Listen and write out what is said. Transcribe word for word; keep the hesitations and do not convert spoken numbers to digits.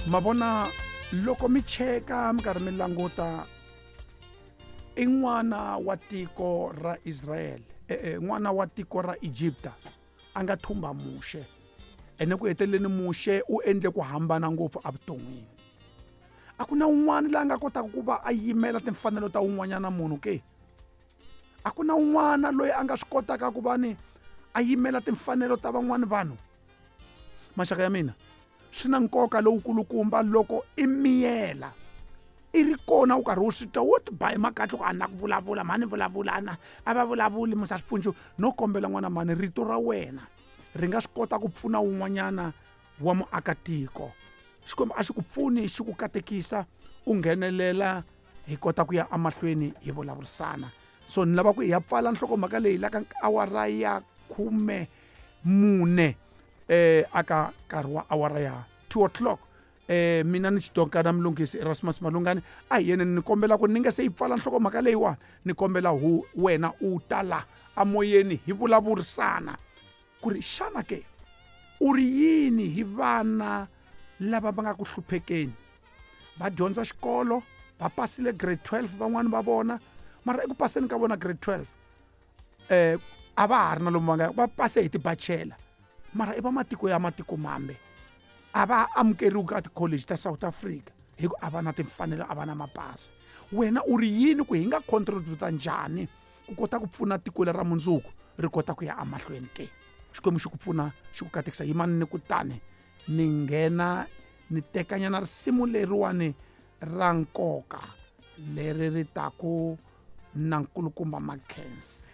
Ma vona loko mi cheka mi karhi mi languta i n'wana wa tiko ra Israel, eh, eh, n'wana wa tiko ra Egypta a nga thumba Muxe. Ene ku heteleleni Muxe u endle ku hambana ngopfu evuton'wini. A ku na un'wana la nga kotaka ku va a yimela timfanelo ta un'wanyana munhu ke? A ku na un'wana loyi a nga swi kotaka ku va ni a yimela timfanelo ta van'wani vanhu? Maxaka ya mina, swi na nkoka lowukulukumba loko i miyela i ri kona u karhi u swi twa wo ti ba hi makatla ku a na ku vulavula mhani vulavula ana a va vulavuli musa swipfunxu. No kombela n'wana mhani, rito ra wena ri nga swi kota ku pfuna wun'wanyana wa muakatiko. Xikwembu a xi ku pfuni xi ku katekisa u nghenelela hi kota ku ya emahlweni hi vulavurisana. So ni lava ku hi ya pfala nhlokomhaka leyi la ka awara ya khume mune eh aka nkarhi wa awara ya two o'clock. Eh mina ni xidonkana Mlungisi Erasmus Malungani a hi yena ni kombela ku ni nga se yi pfala nhlokomhaka leyiwani, ni kombela hu wena u ta la amoyeni hi vulavurisana ku ri xana ke u ri yini hi vana lava va nga ku hluphekeni, va dyondza xikolo va pasile grade twelve van'wani va vona, mara eku paseni ka vona grade twelve eh a va ha ri na lomu va nga va pase hi tibachela, mara i va matiko ya matiko mambe a va amukeriwi ka ti-college ta South Africa hi ku a va na timfanelo, a va na mapasi. Wena u ri yini ku hi nga contributa njhani ku kota ku pfuna tiko leri ra mundzuku ri kota ku ya emahlweni ke? Xikwembu xi ku pfuna xi ku katekisa. Yimani ni kutani ni nghena ni tekanyana risimu leriwani ra nkoka leri ri taku na nkulukumba Makhense.